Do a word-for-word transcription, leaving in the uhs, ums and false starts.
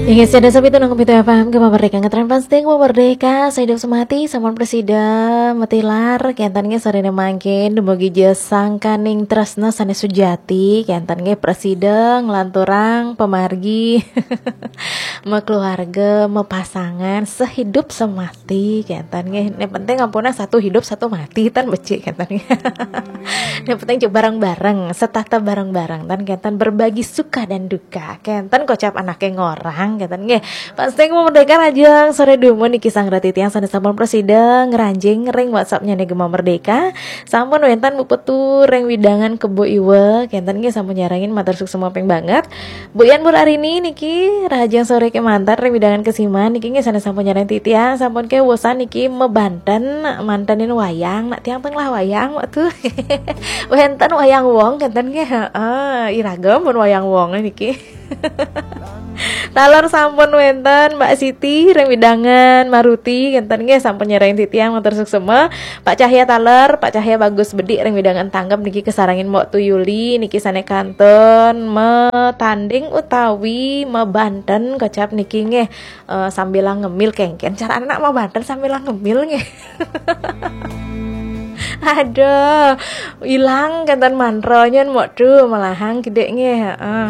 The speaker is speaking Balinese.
Inggih, sada sapitu nang pitu F M, Gema Merdeka, ngetren pasti Gema Merdeka, sehidup semati, sampun prasida matilar, kenten nggih sorene mangkin, dumugi ja sangkaning tresna sane sujati, kenten nggih prasida nglanturang pamargi, makeluarga, mapasangan, sehidup semati, kenten nggih. Nek penting ampuna satu hidup, satu mati, tan becik, kenten nggih. Nek penting coba bareng-bareng, setata bareng-bareng, tan kenten berbagi suka dan duka. Kenten kocap anake ngorang, kenten nggih. Pasti Gema Merdeka, rahajeng sore dumun niki sareng titiang sane sampun prasida ngranjing ring WhatsApp-nyane Gema Merdeka. Sampun wenten Bu Petu ring wewidangan Kebo Iwa, kenten nggih sampun nyarengin, matur suksma ping banget. Bu Yan, Bu Arini niki rahajeng sore kemanten ring wewidangan Kesiman niki nggih sane sampun nyarengin titiang, sampun kewusan niki mabanten, mantenin wayang, nak tiang tengah wayang waktu. Wenten wayang wong, kenten nggih, heeh, iragem pun wayang wong niki. Taler sampun wenten Mbak Siti ring wewidangan Maruti, kenten nggih sampun nyarengin titiang, matur suksma. Pak Cahya taler, Pak Cahya bagus bedik ring wewidangan Tanggep niki kesarengin Mbok Tuyuli niki sane kantun matanding utawi mabanten kocap niki nggih, eh, sambil ngemil kengken. Cara anak mabanten sambil ngemil nggih. Aduh, ilang kenten mantranya Mbok Tu, malahang gedek nggih, heeh.